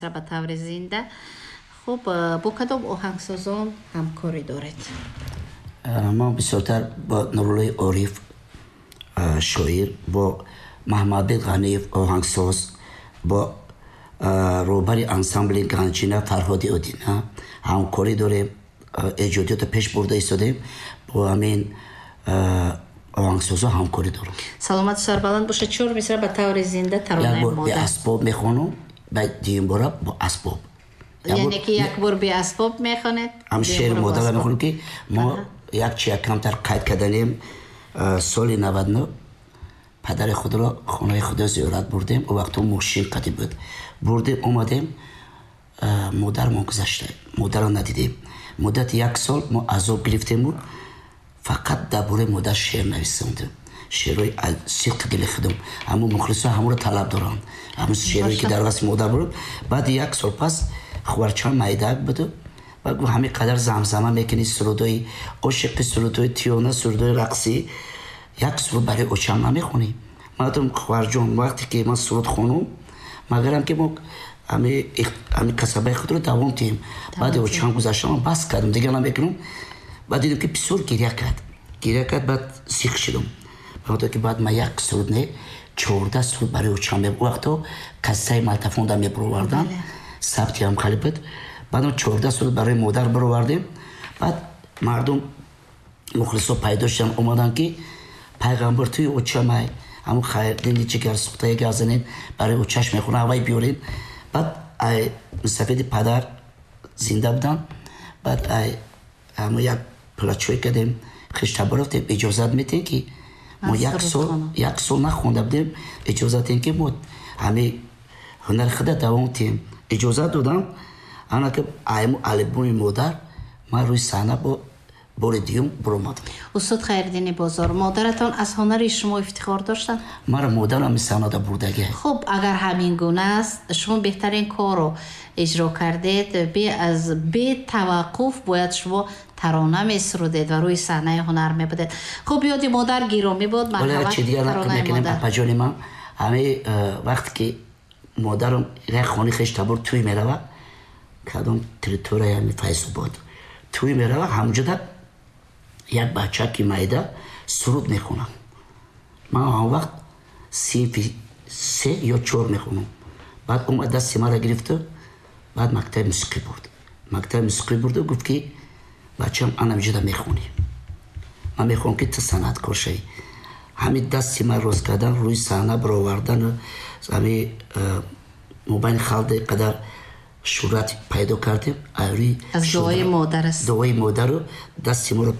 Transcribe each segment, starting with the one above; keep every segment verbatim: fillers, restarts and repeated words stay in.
Ба таври зинда. Хуб, бо кадом оҳангсозон ҳамкорӣ доред? Ман бисёртар бо Нуруллои Ориф, шоир, бо Маҳмадбек Ғаниев, оҳангсоз, бо роҳбари ансамбли Ганҷина Фарҳоди Одина ҳамкорӣ дорем, эҷодиётро пеш бурда истодем. Бо ҳамин оҳангсозо ҳамкорӣ дорам. Саломату сарбаланд бошед. Чор мисра ба таври зинда таронаи модар. Беасбоб мехонам, баъд дуюм бора бо асбоб. Яъне ки як бор беасбоб мехонед? Ҳам шеъри модарро мехонем, ки мо як чи як камтар қайд карданем. Соли наваду нӯҳ падари худро хонаи худо зиёрат бурдем. О вақтҳо мошин қадим буд. Бурдем, омадем, модармон гузашта, модарро надидем. Муддати як сол мо азоб гирифтему фақат дар бораи модар шеър нависондем. Шеърҳои сидқи дили худам. Ҳамун мухлисо ҳамонро талаб доранд, ҳамун шеърҳое ки дар васфи модар буд. Баъди як сол пас хуварчам майдак буду баъд гуфт: ҳамин қадар замзама мекунӣ сурудҳои ошиқӣ, сурудҳои тиёна, сурудҳои рақсӣ, як суруд барои очам намехонӣ? Ман гуфтам: хуварҷон, вақте ки ман суруд хонум, магарам ки мо ҳамин касабаи худро давом диҳем. Баъди очам гузаштам, ман бас кардам, дигар намекунам. Баъд дидам, ки бисёр гиря кард, гиря кард. Баъд зиқ шудам, баъд ки баъд ман як суруд не, чордаҳ суруд барои очам. Ӯ вақтҳо кассаи магнитофонда мебуровардан, сабти ҳам хеле буд. Баъдам чордаҳ суруд барои модар баровардем. Баъд мардум, мухлисо пайдо шуданд, омаданд, ки пайғамбар туи очамай, ҳамун Хайрдини ҷигарсӯхтае гап занем, барои очаш мехонам, ҳавай биёрем. Баъд ай мусафиди падар зинда буданд. Баъд ай ҳамун як плачой кардем, хештабор рафтем: иҷозат метиҳем, ки мо як сол як сол нахонда будем, иҷозат диҳем, ки мо ҳамин ҳунари худа давом диҳем. Иҷозат додам. Ана ки айму албоми модар ман рӯи саҳна бо бори дуюм буромадам. Устод Хайриддини Бозор, модаратон аз ҳунари шумо ифтихор доштанд? Мара модарам саҳнада бурдагӣ. Хуб, агар ҳамин гуна аст, шумо беҳтарин корро иҷро кардед. Аз бетаваққуф бояд шумо тарона месурудед ва рӯи саҳнаи ҳунар мебудед. Хуб, ёди модар гиромӣ буд. Марҳамат, чи дигар нақл мекунем, апаҷони ман. Ҳамин э, вақте ки модарам як хони хеш табор тӯй мерава, кадом территорияи ҳами Файзобод тӯй мерава, ҳамҷода як бача ки майда суруд мехонам. Ман он вақт синфи се ё чор мехонам. Баъд омад, дасти маро гирифту баъд мактаби мусиқӣ бурд. Мактаби мусиқӣ бурду гуфт, ки бачам, анамҷода мехонӣ, ман мехоҳам, ки ту санъаткор шавӣ. Ҳамин дасти ман рост кардан, рӯи саҳна баровардан, ҳами э, мобайни халқ қадар шӯҳрат пайдо кардем. Аз дуои модар аст. Дуои модару дасти моро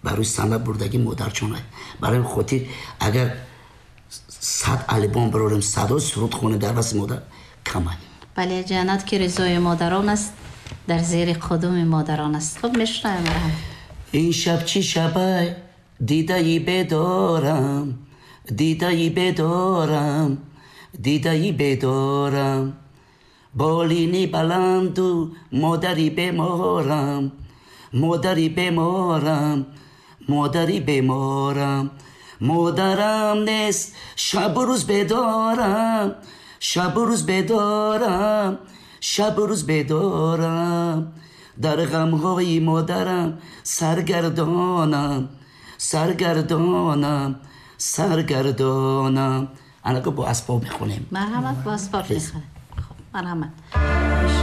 ба рӯи саҳна бурдагӣ модарҷон. Барои хотир агар сад албом барорем, садо суруд хонем, дар васфи модар камай. Бале, ҷаннат ки ризои модарон аст, дар зери қудуми модарон аст. Хуб, мешунавем, марҳамат. Ин шаб чӣ шабай, дидаи бедорам, дидаи бедорам, дидаи бедорам, болини баланду модари беморам, модари беморам, модари беморам, модарам нест, шабу рӯз бедорам, шабу рӯз бедорам, шабу рӯз бедорам, дар ғамҳои модарам саргардонам, саргардонам, саргардонам. Анако бо асбоб мехонем. Марҳамат, бо асбоб мехонем. Хуб, марҳамат.